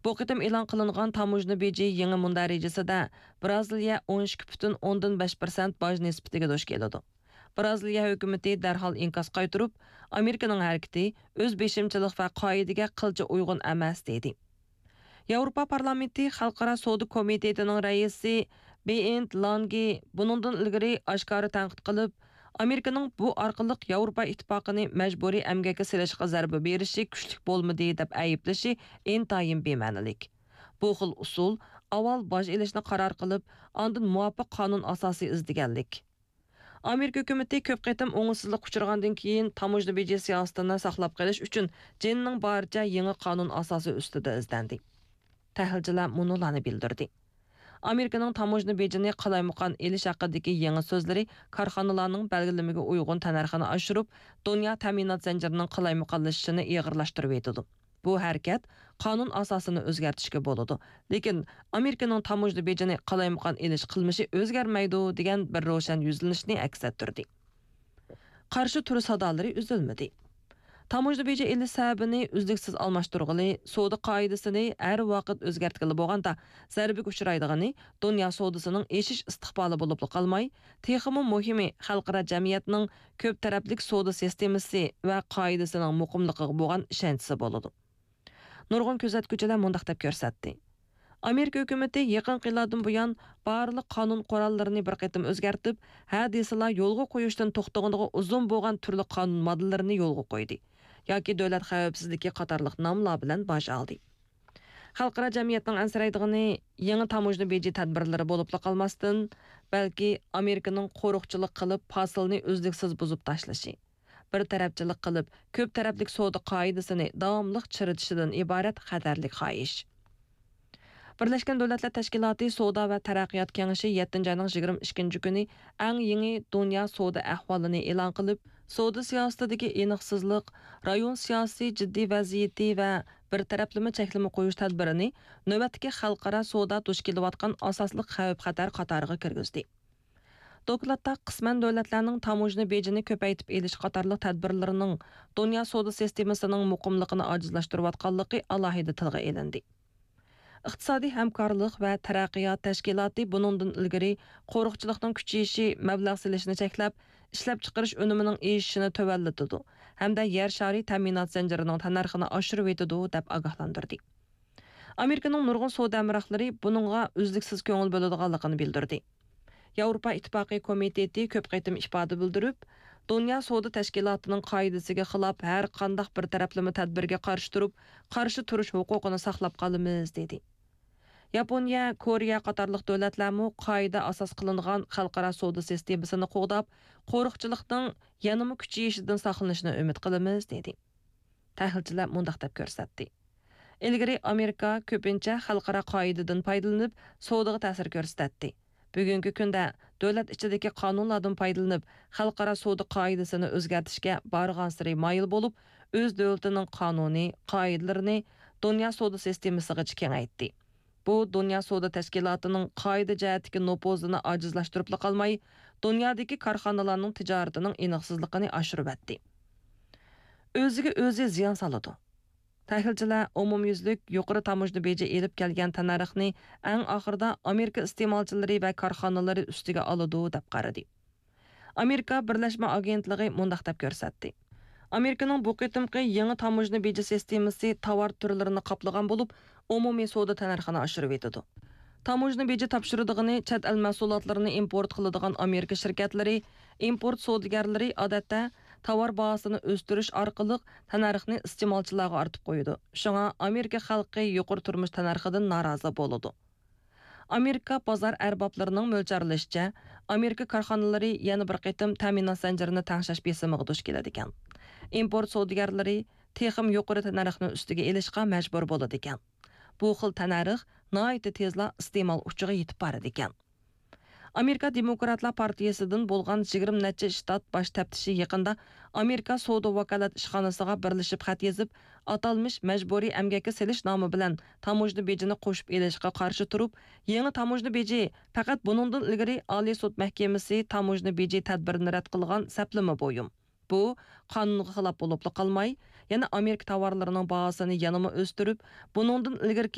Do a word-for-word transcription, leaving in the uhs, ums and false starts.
بۇ قېتىم ئېلان قىلىنغان تاموژنا بېجى يېڭى مۇندەرىجىسىدە برازىلىيە ئون ئىككى پۈتۈن ئوندىن بەش پىرسەنت باج نىسبىتىگە دۇچ كېلىدۇ. برازىلىيە ھۆكۈمىتى دەرھال ئىنكاس قايتۇرۇپ، ئامېرىكىنىڭ ھەرىكىتى ئۆز بېشىمچىلىق ۋە قائىدىگە قىلچە ئۇيغۇن ئەمەس، دېدى. ياۋروپا پارلامېنتى خەلقئارا سودا كومىتېتىنىڭ رەئىسى بېنت لانگې بۇنىڭدىن ئىلگىرى ئاشكارا تەنقىد قىلىپ، ئامېرىكىنىڭ بۇ ئارقىلىق ياۋروپا ئىتتىپاقىنى مەجبۇرىي ئەمگەككە سېلىشقا زەربە بېرىشى كۈچلۈك بولمىدى، دەپ ئەيىبلىشى ئىنتايىن بىمەنىلىك. بۇ خىل ئۇسۇل ئاۋۋال باج ئېلىشنى قارار قىلىپ، ئاندىن مۇۋاپىق قانۇن ئاساسى ئىزدىگەنلىك. ئامېرىكا ھۆكۈمىتى كۆپ قېتىم ئوڭۇشسىزلىققا ئۇچرىغاندىن كېيىن، تاموژنا بېجى سىياسىتىنى ساقلاپ قېلىش ئۈچۈن جېنىنىڭ بارىچە يېڭى قانۇن ئاساسى ئۈستىدە ئىزدەندى. تەھلىلچىلەر مۇنۇلارنى بىلدۈردى. ئامېرىكىنىڭ تاموژنا بېجىنى قالايمىقان ئېلىش ھەققىدىكى يېڭى سۆزلىرى كارخانىلارنىڭ بەلگىلىمىگە ئۇيغۇن تەننەرخىنى ئاشۇرۇپ، دۇنيا تەمىنات زەنجىرىنىڭ قالايمىقانلىشىشىنى ئېغىرلاشتۇرۇۋېتىدۇ. بۇ ھەرىكەت قانۇن ئاساسىنى ئۆزگەرتىشكە بولىدۇ، لېكىن ئامېرىكىنىڭ تاموژنا بېجىنى قالايمىقان ئېلىش قىلمىشى ئۆزگەرمەيدۇ، دېگەن بىر روشەن يۈزلىنىشنى ئەكس ئەتتۈردى. قارشى تۇرۇش سادالىرى ئۈزۈلمىدى. تاموژنا بېجى ئېلىش سەۋەبىنى ئۈزلۈكسىز ئالماشتۇرغىلى، سودا قائىدىسىنى ھەر ۋاقىت ئۆزگەرتكىلى بولغاندا، زەربىگە ئۇچرايدىغىنى دۇنيا سودىسىنىڭ ئېشىش ئىستىقبالى بولۇپلا قالماي، تېخىمۇ مۇھىمى، خەلقئارا جەمئىيەتنىڭ كۆپ تەرەپلىك سودا سىستېمىسى ۋە قائىدىسىنىڭ مۇقىملىقىغا بولغان ئىشەنچىسى بولىدۇ. نۇرغۇن كۆزەتكۈچىلەر مۇنداق دەپ كۆرسەتتى: ئامېرىكا ھۆكۈمىتى يېقىنقى يىللاردىن بۇيان بارلىق قانۇن قوراللىرىنى بىر قېتىم ئۆزگەرتىپ، ھە دېسىلا يولغا قويۇشتىن توختىغىنىغا ئۇزۇن بولغان تۈرلۈك قانۇن ماددىلىرىنى يولغا قويدى ياكى دۆلەت خەۋپسىزلىكى قاتارلىق ناملار بىلەن باج ئالدى. خەلقئارا جەمئىيەتنىڭ ئەنسىرەيدىغىنى يېڭى تاموژنا بېجى تەدبىرلىرى بولۇپلا قالماستىن، بەلكى ئامېرىكىنىڭ قورۇقچىلىق قىلىپ پاسىلنى ئۈزلۈكسىز بۇزۇپ تاشلىشى، بىر تەرەپچىلىك قىلىپ، كۆپ تەرەپلىك سودا قائىدىسىنى داۋاملىق چىرىتىشىدىن ئىبارەت خەتەرلىك خاھىش. بىرلەشكەن دۆلەتلەر تەشكىلاتى سودا ۋە تەرەققىيات كېڭىشى يەتتىنچى ئاينىڭ يىگىرمە ئىككىنچى كۈنى ئەڭ يېڭى دۇنيا سودا ئەھۋالىنى ئېلان قىلىپ، سودا سىياسىتىدىكى ئېنىقسىزلىق، رايون سىياسىي جىددىي ۋەزىيىتى ۋە بىر تەرەپلىمە چەكلىمە قويۇش تەدبىرىنى نۆۋەتتىكى خەلقئارا سودا دۇچ كېلىۋاتقان ئاساسلىق خەۋپ-خەتەر قاتارىغا كىرگۈزدى. دوكلاتتا قىسمەن دۆلەتلەرنىڭ تاموژنا بېجىنى كۆپەيتىپ ئېلىش قاتارلىق تەدبىرلىرىنىڭ دۇنيا سودا سىستېمىسىنىڭ مۇقىملىقىنى ئاجىزلاشتۇرۇۋاتقانلىقى ئالاھىدە تىلغا ئېلىندى. ئىقتىسادىي ھەمكارلىق ۋە تەرەققىيات تەشكىلاتى بۇنىڭدىن ئىلگىرى قورۇقچىلىقنىڭ كۈچىيىشى مەبلەغ سېلىشنى چەكلەپ، ئىشلەپچىقىرىش ئۈنۈمىنىڭ ئېشىشىنى تۆۋەنلىتىدۇ ھەمدە يەر شارى تەمىنات زەنجىرىنىڭ تەننەرخىنى ئاشۇرۇۋېتىدۇ، دەپ ئاگاھلاندۇردى. ئامېرىكىنىڭ نۇرغۇن سودا ھەمراھلىرى بۇنىڭغا ئۈزلۈكسىز كۆڭۈل بۆلىدىغانلىقىنى بىلدۈردى. ياۋروپا ئىتتىپاقى كومىتېتى كۆپ قېتىم ئىپادە بىلدۈرۈپ، دۇنيا سودا تەشكىلاتىنىڭ قائىدىسىگە خىلاپ ھەر قانداق بىر تەرەپلىمە تەدبىرگە قارشى تۇرۇپ، قارشى تۇرۇش ھوقۇقىنى ساقلاپ قالىمىز، دېدى. ياپونىيە، كورېيە قاتارلىق دۆلەتلەرمۇ قائىدە ئاساس قىلىنغان خەلقئارا سودا سىستېمىسىنى قوغداپ، قورۇقچىلىقنىڭ يەنىمۇ كۈچىيىشىدىن ساقلىنىشىنى ئۈمىد قىلىمىز، دېدى. تەھلىلچىلەر مۇنداق دەپ كۆرسەتتى: ئىلگىرى ئامېرىكا كۆپىنچە خەلقئارا قائىدىدىن پايدىلىنىپ، سودىغا تەسىر كۆرسىتەتتى. بۈگۈنكى كۈندە دۆلەت ئىچىدىكى قانۇنلاردىن پايدىلىنىپ، خەلقئارا سودا قائىدىسىنى ئۆزگەرتىشكە بارغانسېرى مايىل بولۇپ، ئۆز دۆلىتىنىڭ قانۇنى، قائىدىلىرىنى دۇنيا سودا سىستېمىسىغىچە كېڭەيتتى. بۇ دۇنيا سودا تەشكىلاتىنىڭ قائىدە جەھەتتىكى نوپۇزىنى ئاجىزلاشتۇرۇپلا قالماي، دۇنيادىكى كارخانىلارنىڭ تىجارىتىنىڭ ئېنىقسىزلىقىنى ئاشۇرۇۋەتتى. ئۆزىگە ئۆزى زىيان سالىدۇ. تەھلىلچىلەر ئومۇميۈزلۈك يۇقىرى تاموژنا بېجى ئېلىپ كەلگەن تەننەرخنى ئەڭ ئاخىرىدا ئامېرىكا ئىستېمالچىلىرى ۋە كارخانىلىرى ئۈستىگە ئالىدۇ، دەپ قارىدى. ئامېرىكا بىرلەشمە ئاگېنتلىقى مۇنداق دەپ كۆرسەتتى: ئامېرىكىنىڭ بۇ قېتىمقى يېڭى تاموژنا بېجى سىستېمىسى تاۋار تۈرلىرىنى قاپلىغان بولۇپ، ئومۇمىي سودا تەننەرخىنى ئاشۇرۇۋېتىدۇ. تاموژنا بېجى تاپشۇرىدىغىنى چەت ئەل مەھسۇلاتلىرىنى ئىمپورت قىلىدىغان ئامېرىكا شىركەتلىرى، ئىمپورت سودىگەرلىرى ئادەتتە تاۋار باھاسىنى ئۆستۈرۈش ئارقىلىق تەننەرخنى ئىستېمالچىلارغا ئارتىپ قويىدۇ. شۇڭا ئامېرىكا خەلقى يۇقىرى تۇرمۇش تەننەرخىدىن نارازى بولىدۇ. ئامېرىكا بازار ئەربابلىرىنىڭ مۆلچەرلىشىچە، ئامېرىكا كارخانىلىرى يەنە بىر قېتىم تەمىنات زەنجىرىنى تەڭشەش بېسىمىغا دۇچ كېلىدىكەن. ئىمپورت سودىگەرلىرى تېخىمۇ يۇقىرى تەننەرخنى ئۈستىگە ئېلىشقا مەجبۇر بولىدىكەن. بۇ خىل تەننەرخ ناھايىتى تېزلا ئىستېمال ئۇچىغا يېتىپ بارىدىكەن. ئامېرىكا دېموكراتلار پارتىيىسىدىن بولغان يىگىرمە نەچچە شتات باش تەپتىشى يېقىندا ئامېرىكا سودا ۋاكالەت ئىشخانىسىغا بىرلىشىپ خەت يېزىپ، ئاتالمىش مەجبۇرىي ئەمگەككە سېلىش نامى بىلەن تاموژنا بېجىنى قوشۇپ ئېلىشقا قارشى تۇرۇپ، يېڭى تاموژنا بېجى پەقەت بۇنىڭدىن ئىلگىرى ئالىي سوت مەھكىمىسى تاموژنا بېجى تەدبىرىنى رەت قىلغان سەپلىمە بۇيۇم. بۇ قانۇنغا خىلاپ بولۇپلا قالماي، يەنە ئامېرىكا تاۋارلىرىنىڭ باھاسىنى يەنىمۇ ئۆستۈرۈپ، بۇنىڭدىن ئىلگىرىكى